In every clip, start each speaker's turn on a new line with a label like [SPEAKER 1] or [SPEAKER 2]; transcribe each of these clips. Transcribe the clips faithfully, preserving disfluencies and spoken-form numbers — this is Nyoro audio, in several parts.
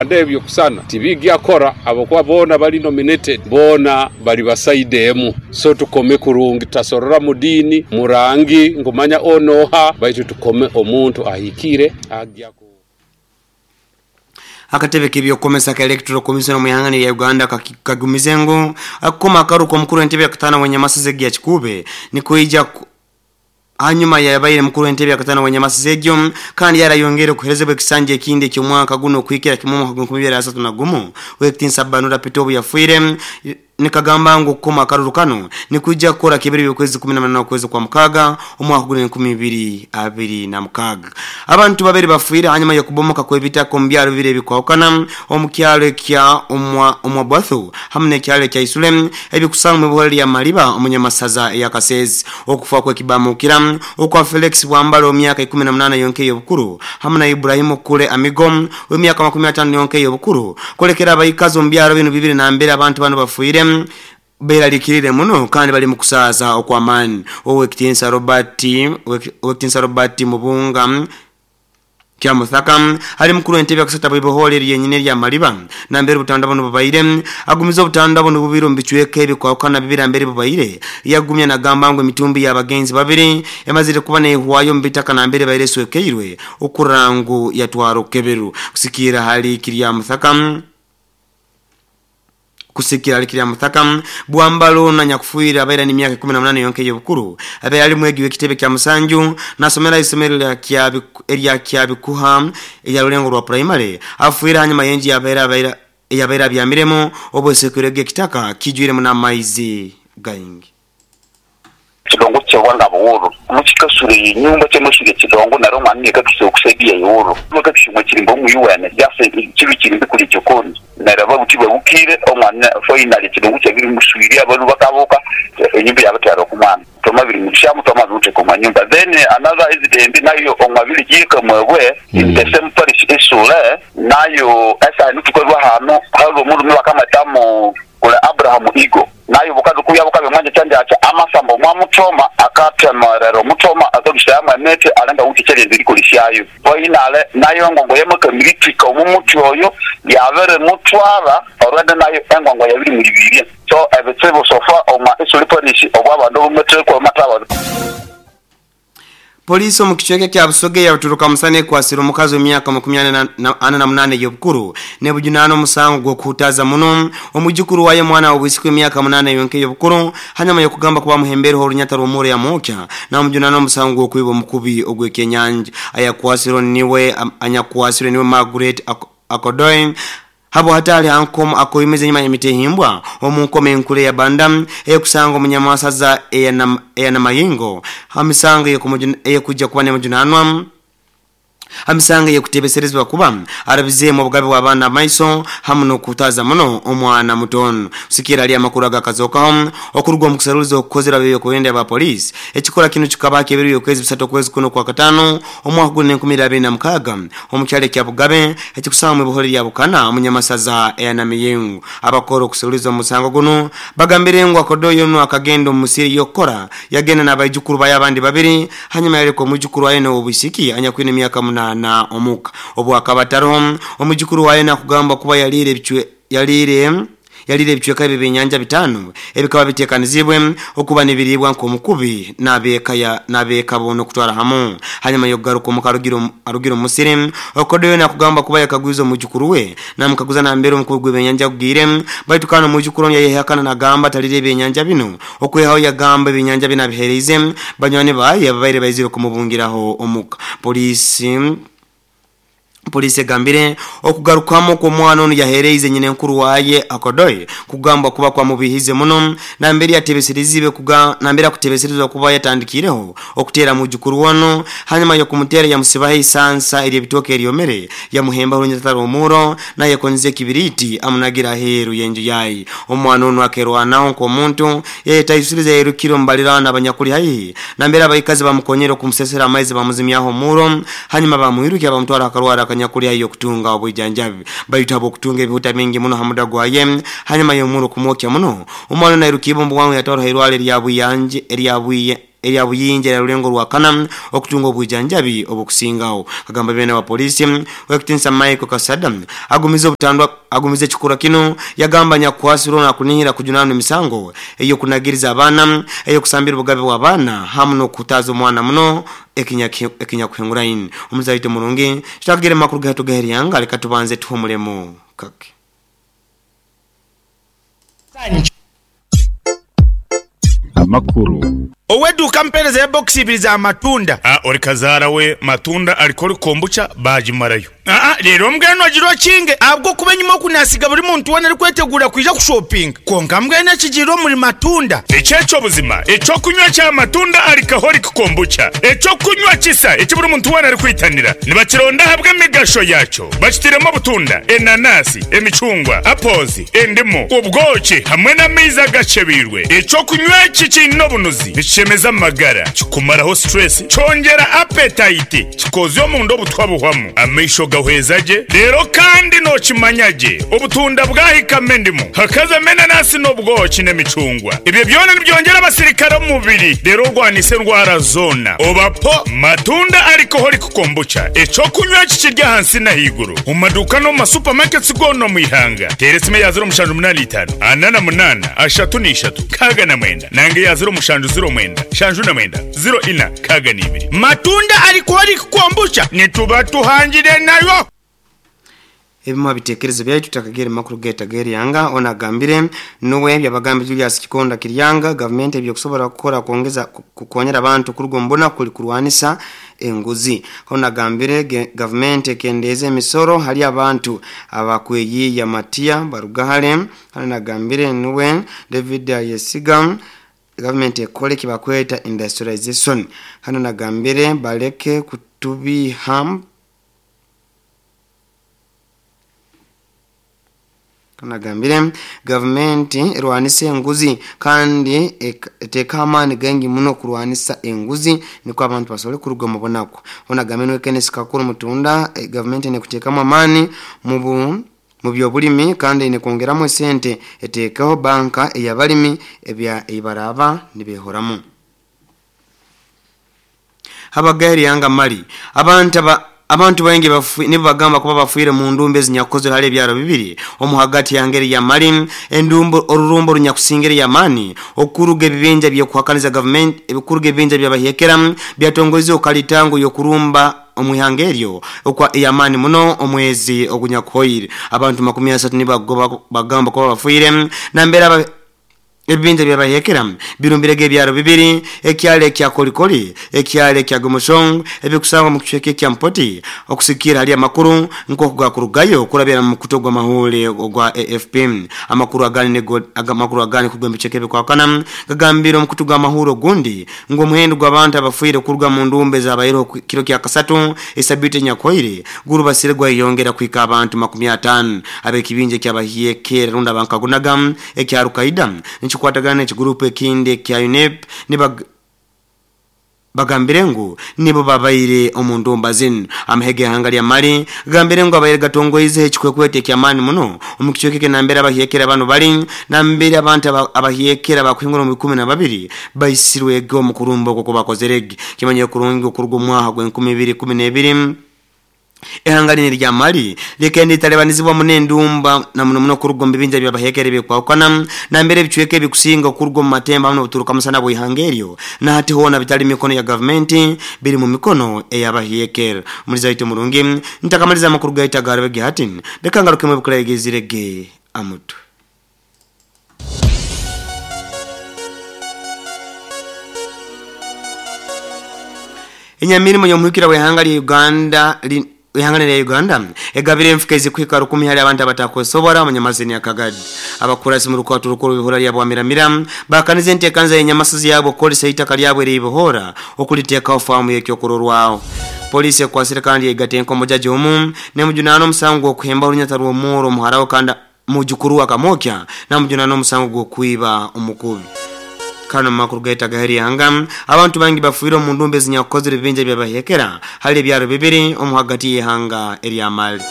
[SPEAKER 1] Ebyo kusana tibigyakora abokuba boona bali nominated, boona bali basaide emu. So tukome kurungi, tutasorora mu dini murangi ngumanya onoha, baitu tukome omuntu ahikire agya.
[SPEAKER 2] Akatebe k'ebyokukomesa ka Electoral Commission mu ihanga lya Uganda kagumize ngu akukoma akaruka omukuru w'entebe ya katano w'enyamasase ya Kikube nikuija hanyuma yabaire mukuru w'entebe ya katano w'enyamasase egyo, kandi yarayongere kuherezebwa ekisanja ekindi eky'omwaka guno okuhikira kimwe omwaka gw'enkumi ibiri asatu na gumu. W'ekitinisa Banura Peter obu yafiire nikagamba ngu kukoma akaruru kano nikuija kukora kibiri by'okwezi kumi na munana okwezi kwa mukaga omwaka gw'enkumi ibiri abiri na mukaga. Abantu babiri bafiire hanyuma y'okubomoka kw'ebitaka omu byaro bibiri ebikwahukana omu kyaro ekya omwa Omwabwathu hamwe n'ekyaro ekya Isule ebikusangwa mu buhore lya Maliba omunyamasaza eya Kasezi. Okufa kw'ekibamukira okwa Felix Bwambalo emyaka ikumi na munana yonke y'obukuru hamwe na Ibrahimu Kule Amigo w'emyaka makumi atano yonke y'obukuru kolekera abaikazi omu byaro bino bibiri na mbere abantu bano bafiire beralikirire muno kandi bali mukusaza okwamani. Owekitinsa Robert Owekitinsa Robert Mubunga Kyamuthaka ali mukuru entebe akusata bw'ibohole lyenyine lya Maliba nambere obutanda buno bubaire agumiza obutanda buno bubiri omu bicweka ebikwahukana bibiri ambere bubaire yagumya nagamba ngu emitumbi y'abagenzi babiri emazire kuba nehwayo mu bitaka nambere baire swekeirwe okurangu yatwara okukeberu. Kusikira hali Kiryamuthaka kusikira alikiri Muthaka Bwambalo na nyakufuira abaira ni miaka kumi na munane yonke y'obukuru abaira ali mwegi w'ekitebe kya Musanju nasomera isomero lya Kyabi erya Kyabikuha erya Rulengo rwa primary afuira hanyuma yenji yabaira abaira yabaira byamiremo obwesekere kitaka kijwiremo n'amaizi gaingi.
[SPEAKER 3] Kidongo kyawanga buworo mukikasure inyumba cyamushige kidongo naro mwana kakise okusaidia yoro bakakishimwe kirimbo mu U N yase kibi kirimbi kuli kyokoni naraba butiba bukire omwana finally kidongo kyabiri muswiri abantu bakaboka enyumba yabatara okumwana tomabiri mushamu tomabiri ku manyumba. Then another incident nayo omabiri jika mwebwe in the same parish isule nayo esa nutukorwa hano halo mundu bakamatamo kula Abraham Igo nayo bukazi kuya bukabe mwanje cyanje acha amasambo mwa mutoma akatemarero mutoma akabishama nete alanga uti chalende likolishayo poinale nayo ngongo yemoka militika omumuti oyo yabere mutwara orwende nayo engongo yabiri muri bibiri. So ebitsebo sofa oma isuli police obwabantu bumutekwa mataba.
[SPEAKER 2] Polisi omu kichweka kya Busoge yaturuka musane kwasira omukazi w'emyaka makumi ana na munane y'obukuru nebujunano omusango gw'okuhutaza muno omujukuru waye mwana w'obwisiki w'emyaka munane yonke y'obukuru hanyuma y'okugamba kuba muhembereho orunyata rw'omuro ya mukya namujunano omusango gw'okwiba omukubi ogw'ekyenyanja. Ayakwasiro niwe anyakwasiro niwe Margaret Akodoy habo hatali hankomo akoyimeze nyuma y'emitehimbwa omunkome enkule ya banda ekusanga omunyamasaza eya mayingo hamisango eyekujja kuba nemujunanwa hamisanga yekutebeserezwa kuba arabizemu obugabe bw'abaana amaiso hamu n'okutaza muno omwana mutono. Kusikira ali amakuru agakazokaho okuruga omu kusaruliza okukozera bebyo kuyenda aba polisi ekikola kino kikaba kebiri okwezi bisatu okwezi kuno kwa katano omwaka guno enkumi abiri na mukaga omu kyalo kya Bugabe ekikusanga mu buhore lya Bukana omunyamasaza eya Namiyengo. Abakora okusaruliza omusango guno bagambire ngu akodoyo no akagenda omu musiri yokora yagenda n'abaijukuru baye abandi babiri hanyuma yareka omujukuru waye n'obwisiki anyakwine emyaka na omuka obu akabataro omujukuru waye nakugamba kuba yalire bichwe yalire yalire bichweka ebinyanja bitano ebikaba bitekanizibwe okuba nibiribwa nkomukubi nabeka ya nabeka bono kutwara hamu hanyuma yogaruka omukarugiro arugiro musiri okodoyo nakugamba kuba yakagwiza omujukuru we namukaguza nambere omukugwe benyanja kugire baitu kana omujukuru yayehakana nagamba talire ebinyanja bino okwehaho yagamba ebinyanja bina bihereze banywani baye ababaire baizire kumubungiraho omuka. Polisi Polisi gambire okugarukamo kwa mwana ono yahereize nyine nkuru waye akodoye kugamba kuba kwa mubihize muno na mbere yatebeserizibe kuga na mbere akutebeserezwa kuba yatandikireho okutera mujukuru wono hanyuma yo kumutera yamusibaho isansa eri bitoke eryomere yamuhemba runyataro omuro naye konze kibiriti amunagira heru yenju yayi omwana ono akerwanaho ko muntu yetayisuriza yerukiro mbalirana abanyakuri hayi na mbere abayikazi bamukonyera okumusesera amaizi bamuzimyaho muro hanyuma bamwirukiya bamutwara akarwara nyakuri ayo kutunga obwijanjabi bayitabo kutunga ebihuta mingi muno hamuda gwaye hanyuma yomuro kumwokya muno omwana nairukibo mbwangu yatwara hirwale lya buyanje lya buye erya Buyinja ya Rulengo rwakana okutunga obwijanjabi obukusingawo. Kagamba bene wa polisi wekitinsa Michael Kasada agumiza obutandwa agumiza ekikura kino yagamba nyakwasiro na kunihira kujunana emisango eyo kunagiriza abana eyo kusambira obugabe bwa bana hamu no kutaza omwana muno ekinya ekinya kuhenguraini omuzaito murungi tutakugere makuru gato gaheriyanga leka tubanze tuhumulemo kake.
[SPEAKER 4] Amakuru
[SPEAKER 5] oweduka mpereza ya box ibiri za matunda.
[SPEAKER 6] Ah, ori kazara we matunda alikori kombucha bajimarayo.
[SPEAKER 5] Ah ah, rero mbweno agiro kinge abwo kubenyuma okunasiga buri muntu wona ari kwetegura kuja kushopping konka mbwene kijiro muri matunda.
[SPEAKER 6] Echecho buzima echo kunywa cha matunda alikahori kombucha echo kunywa kisa eki buri muntu wona ari kwitanira nibakironda habwe migasho yacho bakitiremo butunda enanasi emicungwa apples endimu ubwoki hamwe n'amaizi gachebirwe echo kunywa kikino bunuzi chemeza magara kikumaraho stress chongera appetite kikozyo omundo obutwa buhwamu amaisho gahwezaje rero kandi no kimanyaje obutunda bwahikame endimu hakaza menanasi n'obwoki n'emicungwa ibyo byona nibyongera abasirikare mu mubiri rero rwanise ndwara zona obapo matunda alcoholic kombucha echo kunywa kikirya hansi na higuru mu maduka no mu supermarkets gono mu ihanga teresime ya zero mushanju munani itanu anana munana ashatu n'ishatu kaga na mwenda nange ya zero mushanju zero mwenda shanju na mwenda zero ina kaga n'ibiri
[SPEAKER 5] matunda alcoholic kombucha nituba tuhangire nayo.
[SPEAKER 2] Ebimwa bitekerezo byaitu takagere makuru geta geri yanga ona gambire nuwe byabagambe Julius Kikonda Kiryanga government ebyokusobola kukora kuongeza kukonyera abantu kurugombona kuli kurwanisa enguzi. Ona gambire government kendeze emisoro hali abantu abakweyiya Matia Barugahale. Ona gambire nuwe David Yesiga government ekole kibakweta industrialization. Hano nagambire baleke kutubiha Nagambire government erwanise enguzi kandi eteka amani gengi muno kurwanisa enguzi niko abantu basole kuruga mu bonako. Ona gamenwe Kenneth Kakuru mutunda e, government ene kutekamo amani mu mu byobulimi kandi ene kongeramo sente etekaho banka eyabalimi ebya ibaraba nibehoramu. Habagari yanga mali abantu aba abantu baingi nibo bagamba kuba bafuire mu ndumbe zinyakozwe hali ebyaro bibiri omuhagati yangeri ya mali endumbo orurumbo runyakusingeri ya mani okuruga ebibinja byo kuhakaniza government ebikuruga ebibinja byabahekera byatongozi okalitango yokurumba omuhangeryo okwa yamani muno omwezi ogunyakoyire abantu makumi asatu nibagoba bagamba kuba bafuire nambera ebibinja byabahekera birumbirege ebyaro bibiri ekyale kya kolikoli ekyale kya gomoshong ebikusangwa mu kichweke kya mpoti okusikira hali amakuru nko kugakurugayo kurabira mu kutogwa mahule ogwa A F P amakuru agani nego amakuru agani kugomba cheke bikwakana gagambira mu kutuga mahuro gundi ngo muhendo gw'abantu abafuire kuruga mu ndumbe zabayiro kiro kya kasatu esabite nyakoire guru basiregwa yongera kwika abantu makumi atano abekibinje kyabahiyekera runda bankagunaga ekya rukaida kwatagana ekigurupu ekindi kya U N E P nibag bagambire ngu nibo babaire omundumba zinu amahege hanga lya mali gambire ngu abaire gatongoize ekikwekwete kya mani muno omukichweke nambera abahiyekera bano bali nambere abantu abahiyekera bakuhingura mu ikumi na babiri baisirwego mu kurumba okwo bakozerege kimanye kurungi okuruga omwaha gwe enkumi ibiri kumi n'ebiri ehanga lini lya mali lekende talebanizibwa munendumba na muno muno kurugomba binja byabahekere bikwakana na mbere bichweke bikusinga kurugomba matemba muno buturuka musana bwihangeryo na hati hona bitali mikono ya government biri mu mikono eyabahekere muliza ito murungi ntakamaliza makuru gaita garbe hatin leka ngaruke mu bukulegezirege amutu. Enyamirimo yomuhikira wehanga lya Uganda li ihangane ya Uganda egabire mfukezi kwika rukumi hali abantu abatakosobora munyamazini ya Kagadi abakurasi mu rukwatu rukuru bihora lya bwamiramira bakanize ntekanza yenyamasuzi yabo kolisa itaka lyabwe ribohora okuliteka ofamu yekyokurorwaho polisi ekwasire kandi egate enkomo jaji omu ne mujunano omusango okuhemba orunyata rw'omuro muharawo kanda mujukuru akamokya na mujunano omusango gw'okwiba omukubi. Kano makuru gaita gaheri yanga abantu bangi bafuire mu ndumbe zinyakozere binja byabahekera hali ebyaro bibiri omuhagati yehanga erya mali.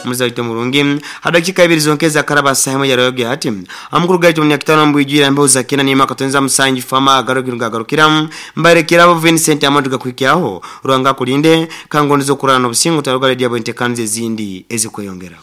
[SPEAKER 2] Muzaito murungi hadakika ibiri zonkeza karaba sahemu ya roge hati amukuru gaitu munyakitano mbwijira mbeho za kina nima katonza musanji fama agarukira agarukira mbarekera abo Vincent Amadu gakwikyaho rwanga kulinde kangonzo kurana obusingo taruga radio entekanze ezindi ezikweyongera.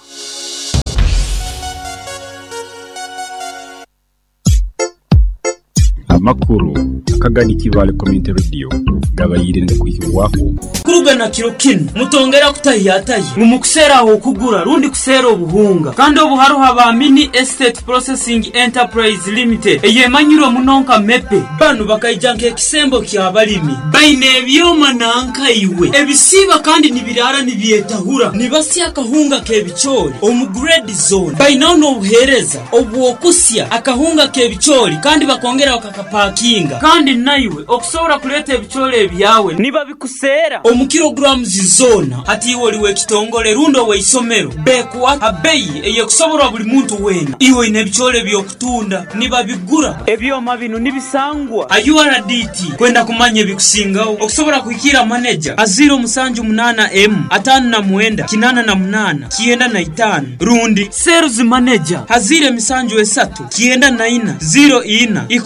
[SPEAKER 4] Amakuru akagani Kibale Community Radio gabayirinde kuhirwaho
[SPEAKER 7] kurugana kiro kino mutongera kutahiyatayi mumukusera aho kugura rundi kusera obuhunga kandi obuharuha ba Mini Estate Processing Enterprise Limited eyemanyirwe munonka mepe banu bakaija nk'ekisembo ky'abalimi baine ebyoma nankaiwe ebisiba kandi nibirara nibyetahura nibasya akahunga k'ebicoori omu grade zone bainaho n'obuheereza obwokusya akahunga k'ebicoori kandi bakongera bakakapakinga kandi naiwe okusobola kuleta ebicoori ebyawe niba bikusera omu kilograms zona hati iwe oliwe ekitongole rundo weisomero bekuwa abeyi eyekusoborwa buli muntu wena iwe ine ebicoori ebyokutunda nibabigura ebyoma bino nibisangwa a U R D T kwenda kumanya ebikusingaho okusobola kuhikira manager a zero musanju munana m atano na mwenda kinana na munana kienda na itano rundi sales manager hazire misanju esatu kienda na ina zero ina ikumi.